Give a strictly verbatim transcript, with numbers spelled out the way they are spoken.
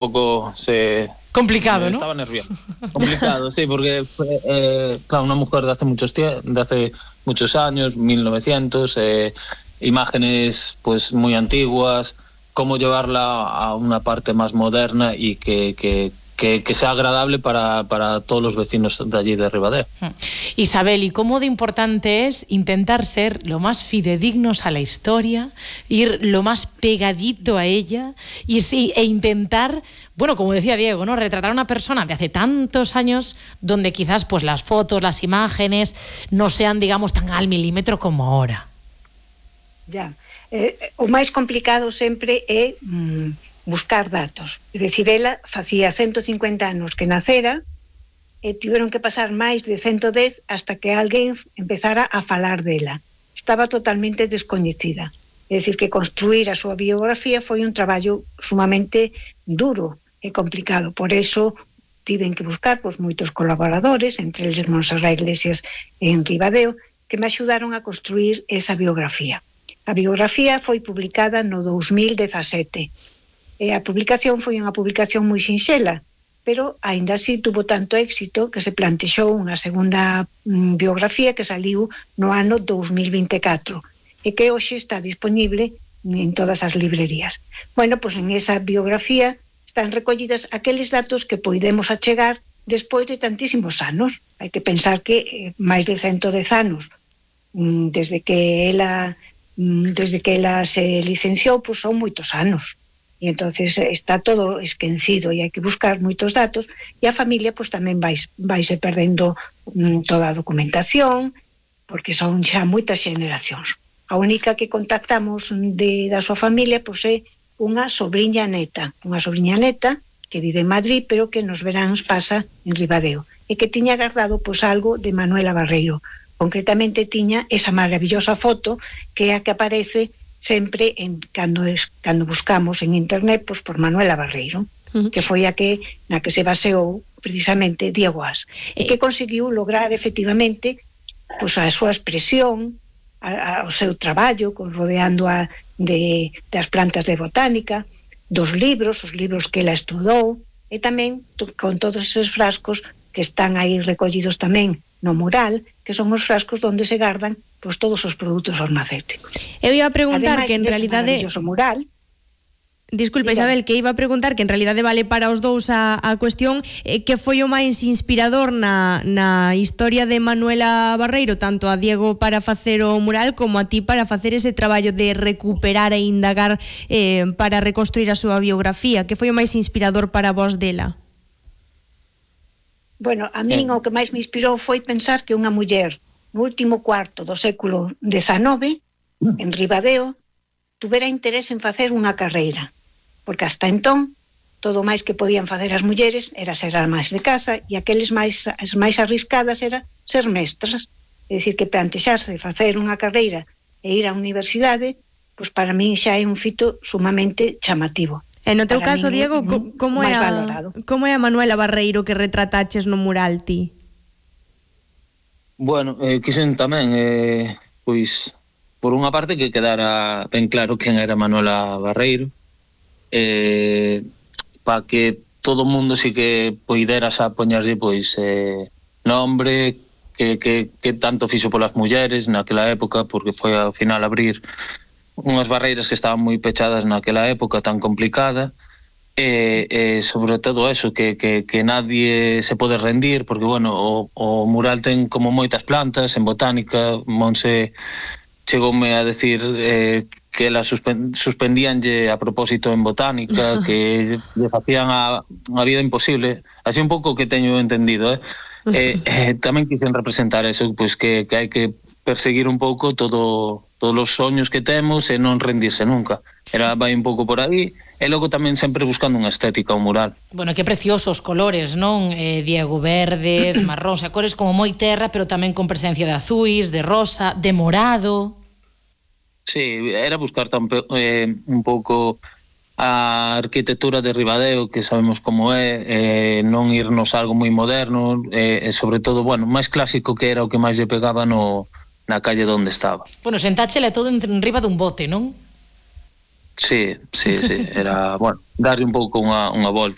pouco se... Complicado, ¿no? Estaba nervioso. Complicado, sí, porque, eh, claro, una mujer de hace muchos de hace muchos años, mil novecientos, eh, imágenes pues muy antiguas, cómo llevarla a una parte más moderna y que, que, que, que sea agradable para, para todos los vecinos de allí de Ribadeo. Isabel, ¿y cómo de importante es intentar ser lo más fidedignos a la historia, ir lo más pegadito a ella y sí, e intentar, bueno, como decía Diego, ¿no?, retratar a una persona de hace tantos años donde quizás pues las fotos, las imágenes no sean, digamos, tan al milímetro como ahora? Ya, eh, o máis complicado sempre é mm, buscar datos. É dicir, ela facía ciento cincuenta anos que nacera e tiveron que pasar máis de ciento dez hasta que alguén empezara a falar dela. Estaba totalmente descoñecida. É dicir, que construir a súa biografía foi un traballo sumamente duro e complicado. Por eso tiven que buscar pois, moitos colaboradores, entre eles Montserrat Iglesias en Ribadeo, que me axudaron a construir esa biografía. A biografía foi publicada no dos mil dezasete. E a publicación foi unha publicación moi sinxela, pero aínda así tuvo tanto éxito que se plantexou unha segunda mm, biografía que saliu no ano dos mil vinte e catro e que hoxe está disponible en todas as librerías. Bueno, pois en esa biografía están recollidas aqueles datos que podemos achegar despois de tantísimos anos. Hai que pensar que eh, máis de ciento dez anos mm, desde que ela mm, desde que ela se licenciou, pois son moitos anos. E entonces está todo esquecido e hai que buscar moitos datos e a familia pois tamén vai, vaise perdendo mm, toda a documentación porque son xa moitas xeneracións. A única que contactamos de, da súa familia pois é unha sobriña neta, unha sobriña neta que vive en Madrid pero que nos veráns pasa en Ribadeo e que tiña guardado pois algo de Manuela Barreiro. Concretamente tiña esa maravillosa foto que é a que aparece sempre en cando es cando buscamos en internet pois por Manuela Barreiro, uh-huh. que foi a que na que se baseou precisamente Diego As, e que conseguiu lograr efectivamente pois a súa expresión, a, a, o seu traballo, con, rodeando a de das plantas de botánica, dos libros, os libros que ela estudou, e tamén con todos esos frascos que están aí recollidos tamén no mural, que son os frascos onde se gardan pois todos os produtos farmacéuticos. Eu iba a preguntar Ademais, que en realidade... Ademais, mural... Disculpe, Isabel, que iba a preguntar que en realidade vale para os dous a, a cuestión eh, que foi o máis inspirador na, na historia de Manuela Barreiro, tanto a Diego para facer o mural como a ti para facer ese traballo de recuperar e indagar eh, para reconstruir a súa biografía. Que foi o máis inspirador para vos dela? Bueno, a min o que máis me inspirou foi pensar que unha muller no último cuarto do século dezanove, en Ribadeo, tuvera interés en facer unha carreira, porque hasta entón, todo máis que podían facer as mulleres era ser amas de casa e aqueles máis, as máis arriscadas era ser mestras. É dicir, que plantexarse facer unha carreira e ir á universidade, pois para mí xa é un fito sumamente chamativo. E no teu caso, Diego, como é a, como é a Manuela Barreiro que retrataches no mural ti? Bueno, eh, quixen tamén, eh, pois, por unha parte que quedara ben claro quen era Manuela Barreiro, eh, para que todo o mundo si que poideras a poñerlle, pois, eh, nombre, que, que, que tanto fixo polas mulleres naquela época, porque foi ao final abrir unhas barreiras que estaban moi pechadas naquela época tan complicada, e, e sobre todo eso, que, que, que nadie se pode rendir, porque, bueno, o, o mural ten como moitas plantas, en botánica, Monse chegoume a decir eh, que la suspen, suspendíanlle a propósito en botánica, que le facían a, a vida imposible, así un pouco que teño entendido, eh? eh, eh tamén quixen representar eso, pois que, que hai que perseguir un pouco todo todos os soños que temos e non rendirse nunca. Era vai un pouco por aí, e logo tamén sempre buscando unha estética ao mural. Bueno, que preciosos colores, non, eh, Diego? Verdes, marróns, a cores como moi terra, pero tamén con presencia de azuis, de rosa, de morado. Sí, era buscar tamén eh, un pouco a arquitectura de Ribadeo, que sabemos como é, eh, non irnos a algo moi moderno, eh, e sobre todo, bueno, máis clásico, que era o que máis lle pegaba no na calle onde estaba. Bueno, sentáchela todo en riba dun bote, non? Sí, sí, sí, era, bueno, darlle un pouco unha, unha volta